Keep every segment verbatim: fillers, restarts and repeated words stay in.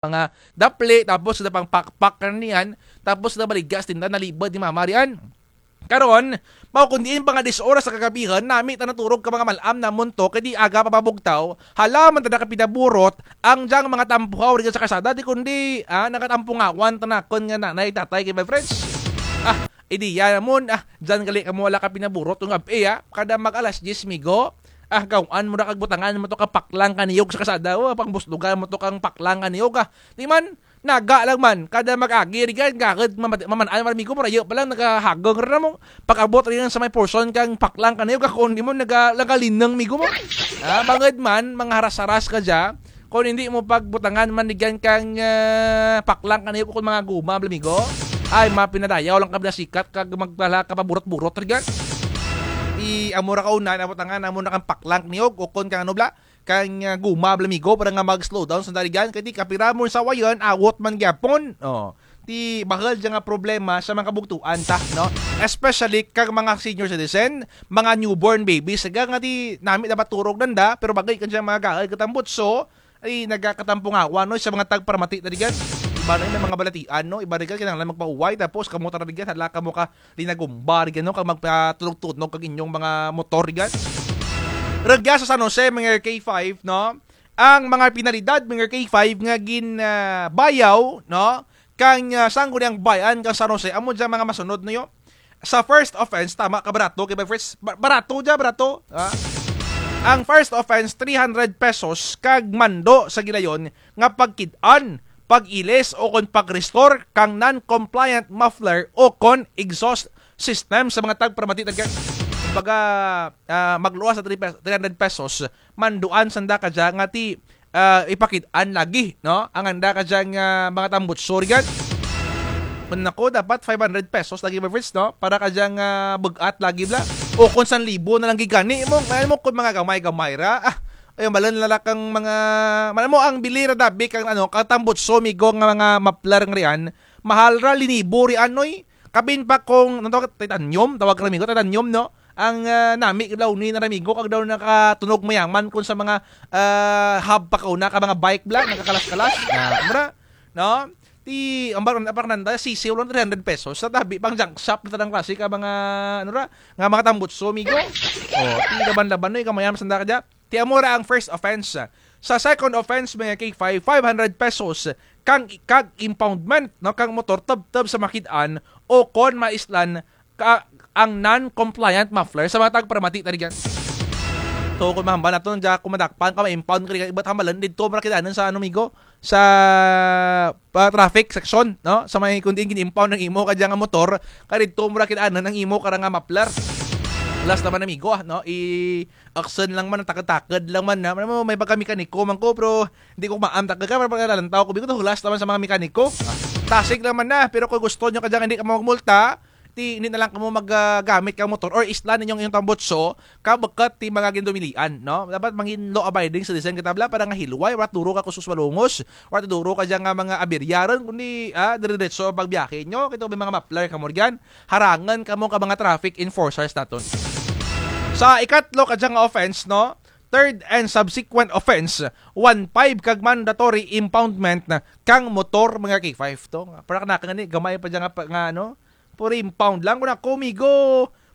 mga dapli, tapos kada pangpakpak kaniyan, tapos kada baligya sa tinda, nalibad ni mama riyan. Karon, mao kon diin pa nga diyes oras sa kagabihan, nami ta naturog ka mga mal-am namon to, kay di aga pa mabugtaw, hala man ta nakapinaburot, ang dyang mga tampuhaw rugyan sa kalsada, di kundi, ah, nagatampungawan ta nakun nga nanay, tatay, kay my friends. Ah, ideya namon, ah, dyan gali kamo hala kapinaburot, kung gab-i, ah, kada mag-alas diyes, migo, ah, gaw-an mo ra kag butangan mo to ka paklang ka niyog sa kalsada, oh, pangbuslugan mo to kang paklang ka niyog, ah. Di man, naga lang man, kada mag-agi, rugyan, gagad, mamat-, maman-an, man, migo, marayo pa lang, nagahagong ra mo. Pag-abot rugyan sa may portion kang paklang ka niyog, ah, kon di mo, naga-, nagalinang, migo mo. Ah, bangud man, mga haras-haras ka dya, kon hindi mo pagbutangan man, rugyan, kang, ah, paklang ka niyog, kon mga guma, bala, migo. Ay, mapinadayaw lang ka bala sikat, kag magdala ka paburot-burot, rugyan. I, amo ra kauna, nabutangan, amo na kang paklang niyog, o kon kang ano, bala, kang, ah, guma, bala, migo, para nga mag-slow down sanda rugyan. Kay di kapira mo sa wayan, awot man gyapon. Oh. Ti bahul dya nga problema sa mga kabugtuan ta, no? Especially kang mga senior citizen, mga newborn babies, nga, nga ti nami dapat turog nanda, pero bagay kan dya mga gaul katambutso, ay nagakatampungawan, no, sa mga tagparamati ta rugyan. Iba na may mga balatian, no? Iba rugyan kinahanglan magpauway, tapos kamo tara rugyan, hala kamo ka linagumba rugyan, no, kag magpatunog-tunog kag inyong mga motor rugyan. Rugya sa San Jose, mga K five, no? Ang mga penalidad, mga K five, nga gin, ah, bayaw, no? Kang, ah, Sangguniang Bayan kang San Jose, amo dya mga masunod, no, yo? Sa first offense, tama ka, barato, kay ba, first, ba-, barato dya, barato, ha? Ang first offense, three hundred pesos, kag mando sa gilayon nga pagkid-an, pag-ilis, o kon pag-restore kang non-compliant muffler o kon exhaust system sa mga tagparamati, tagka-, kumbaga, ah, magluwas sa three pes-, three hundred pesos, manduan sanda kadya nga ti, ah, ipakid-an lagi, no? Ang anda kadya nga mga tambutso rugyan. Kon ako, dapat five hundred pesos lagi, my friends, no? Para kadya nga bug-at lagi bala. O kon san libo na lang gid gani mo, may mo kon mga gamay-gamay ra. Ah, ay, malan lala kang mga, malan mo ang bili ra dabi kang ano, katambutso, migo, nga mga muffler nga riyan. Mahal ra, linibo riyan, oy. Kapin pa kung, ano tawag, titanium, tawag ra, migo, titanium, no? Ang, ah, nami daw ni na, migo, kag daw nakatunog mayaman kon sa mga, ah, hub pa kauna ka mga bike bala, nagkakalas-kalas. Ah, mura, no? Ti, ang bar-, ang parang nanda, sisiw lang three hundred pesos. Sa tabi, pang junk shop na tanang klase ka mga, ano ra, nga mga tambutso, migo. Oh, ti laban-laban, no, ikaw mayaman sanda kadya. Ti amo ra ang first offense. Sa second offense, mga K five, five hundred pesos kang, kag impoundment, no, kang motor tubtub sa makid-an o kon maislan ka, ang non-compliant muffler sa mga tagparamati ta rugyan. So, kon mahambal naton dya, kon madakpan ka, ma-impound ka, iba't hambalan, didto mo ra kid-anon sa, ano, migo, sa, ah, traffic section, no? Sa may kon diin gin-impound ang imo kadya nga motor, kay didto mo ra kid-anon ang imo kara nga muffler. Last naman, amigo, ah, no? I-, action lang man, takad-takad lang man, ha? Alam mo, may pagka-mekaniko man ko, pero hindi ko maam takad ka, pero pagka lalantaw ko, bigo to, hulas naman sa mga mekaniko. Tasig lang man na, pero kung gusto nyo kadya nga hindi ka magmulta, ti, hindi na lang kamo mag, ah, gamit kang motor or islan ninyo ang inyong tambutso, kabukut ti mga gindumilian, no? Dapat mangin law-abiding citizen kita bala para nga hilway, wara duro ka kuskus malungos, wara duro kadya nga mga aberya run, kundi, ah, dire-diretso ang pagbiyahe nyo, kay to may mga muffler kamo rugyan, harangan kamo ka mga traffic enforcers naton. Sa ikatlo kadya nga offense, no? Third and subsequent offense, one five kag mandatory impoundment na kang motor, mga K five to. Para kanaka nga ni, gamay pa dya nga pa, nga, ano, puro impound lang. Kon ako, migo,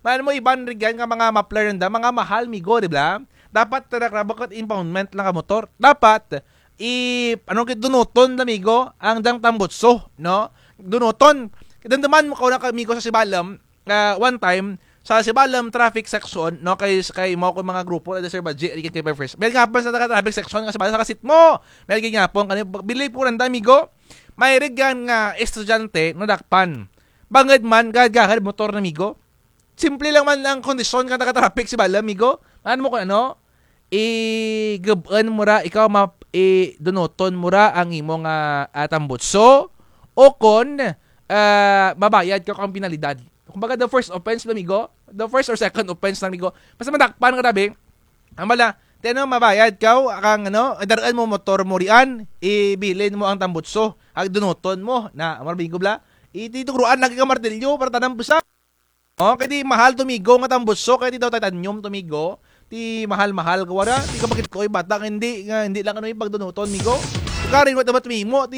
man mo iban rugyan nga mga muffler nanda, mga mahal, migo, di ba? Dapat tara kara bukut impoundment lang ka motor. Dapat, i-, ano, kay dunuton lang, migo, ang dyang tambutso, no? Dunuton. Damdaman mo kaw na, migo, sa Sibalom, ah, one time, sa Sibalom traffic section, no, kay, kay mao ko mga grupo na Sir Badji, Ricky, kay First. May gihapon sa taga traffic section nga Sibalom sa kasit mo. May gihapon kani, bili po nanda, migo. May rugyan nga estudyante, nadakpan. Bangud man, gagahad motor na, migo. Simple lang man ang kondisyon kang taga traffic Sibalom, migo. Ano mo kon ano? I-gub-un mo ra, ikaw ma-, i-dunuton mo ra ang imo nga, ah, tambutso, o kon, ah, mabayad ka kang penalidad. Kumbaga, the first offense lang, migo. The first or second offense lang, migo. Basta madakpan ka, tabi. Ang bala, ti ano, mabayad ka, kang ano, dar-un mo motor mo riyan, ibilin mo ang tambutso. Ag dunuton mo, na, amo ra, migo, bala. Iti tugroan lagi ka martilyo, para tanang busa. Oh, kay ti mahal to, migo, nga tambutso, kay ti daw titanium to, migo. Ti mahal-mahal ka wara, ti kapakit ko, oy, bata, nga hindi, nga hindi lang ano yung pagdunuton, migo. Karin wara tama tumimo ti